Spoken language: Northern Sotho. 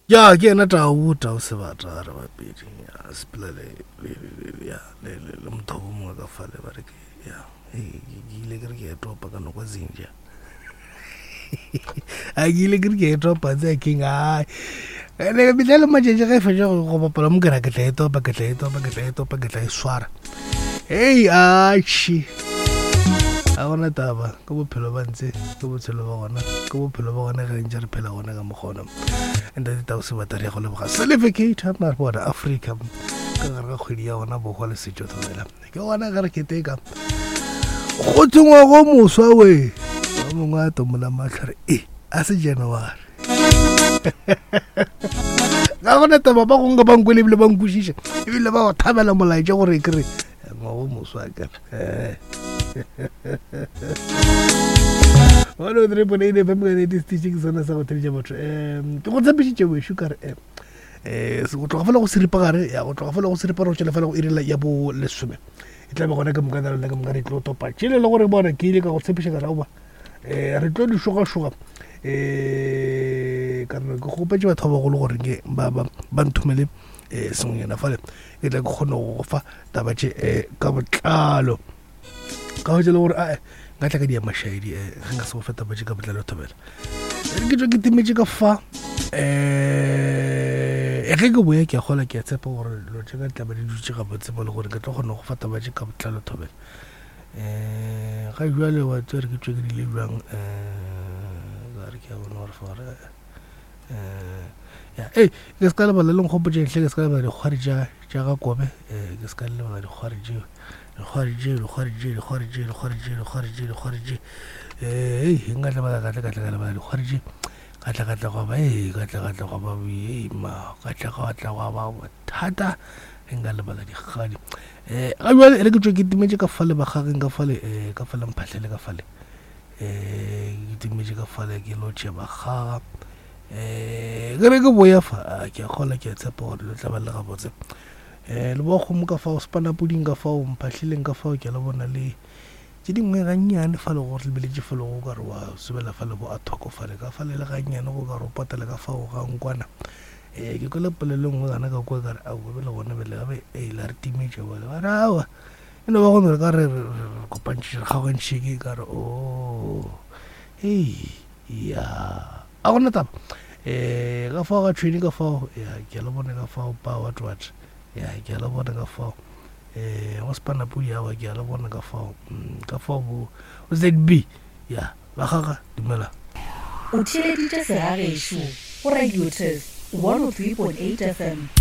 Ya ke yena Tau, Tau Sebata re bapedi. Ya sepela le le le ya le le le mothobo mongwe ka fale ba re ke ya ke ile ke re ke etopa ka nokwa zinja. A ke ile ke re ke etopa tse king ai. Ene metlha le matšatši ge e fetša go bapala mo ke ra ke tla etopa ke tla etopa ke tla etopa ke tla e swara. Hei atšhi. A gona taba ke bophelo ba ntse ke botshelo ba gona ke bophelo ba gona ge ntse re phela gona ka mokgona. Ntate Tau Sebata re ya go leboga Selefe Mare bona Afrika ka gare ga kgwedi ya gona bohwa le setšo thobela ke gona ge re keteka go thongwa go moswa we ba mongwe a tomola matlho re e a se January ga gona taba ba gongwe ba nkwele ebile ba nkwešiša ebile ba go thabela molaetša gore ke re ngwago moswa kere 103.8 FM ka nete station ke sona sa go theletša batho um ke go tshepišitše wešo ka re um go tloga fela go seripagare ya go tloga fela go seripagare go tšwela fela go irela ya bo lesome e tla be gona ke moka lena ke moka re tlo topa tšele le gore bona ke ile ka go tshepiša ka re aowa um re tlo di šogašoga um ka re ke kgopetše batho ba bagolo gore ke ba nthomele um sengwenyana fale ke tla ke kgone go fa taba tše um ka botlalo ka hwetša le gore ae nka tla ka dia mašaedi um ge nka se go fa taba tše ka botlalo thobela re ke tswe ke timetše ka fa um ge ke boya ke a gola ke a tshepa gore dilo tše ka tla ba di dutše gabotse mo le gore ke tlo kgona go fa taba tše ka botlalo thobela um ga jale wa tsere ke tswe ke dile bjang um ka re ke a bona gore fa gore ya ei ke se ka lebala le nkgopotšeng hle ke se ka lebala dikgwari tša tša ga kobe um ke se ka lebala dikgwari tšeo dikgwari tšeo dikgwari tšeo dikgwari tšeo dikgwari tšeo dikgwari tšeo dikgwari tšeo um ei nka lebala ka tla ka tla ka lebala dikgwari tše ka tla ka tla gwa ba ee ka tla ka tla gwa ba ee ma ka tla ka tla gwa ba bothata ge nka lebala dikgadi um ga jale e re ke tswe ke timetše ka fale bagageng ka fale um ka fale mphahlele ka fale um ke timetše ka fale ke lo tšea bakgaga um ke re ke boya fa ke a kgola ke a tshepa gore lo tla ba le gabotse um le bo kgomo ka fao sepanapoding ka fao mphahlileng ka fao ke a le bona le tše dingwe gannyane fa le go lebeletše fa le go ka re wa sobela fa le bo a thoko fale ka fale le gannyane go ka re o patele ka fao ga nkwana um ke kwele polelo nngwe gana ka kwa kare aowa bele gona bele gabe e la re timetše bale ba re aowa E no ba go no re ka re re kopantšhitše re kgaogantšhitše ke ka re o oh, hei ya a gona taba um ka fao ga tšhweni ka fao ya ke a le bone ka fao pa what what ya ke a le bone ka fao um go sepanapodi awa ke a le bone ka fao mm, ka fao bo zb ya ba gaga dumela O theeleditše segagešo go Radio Turf 103.8 FM.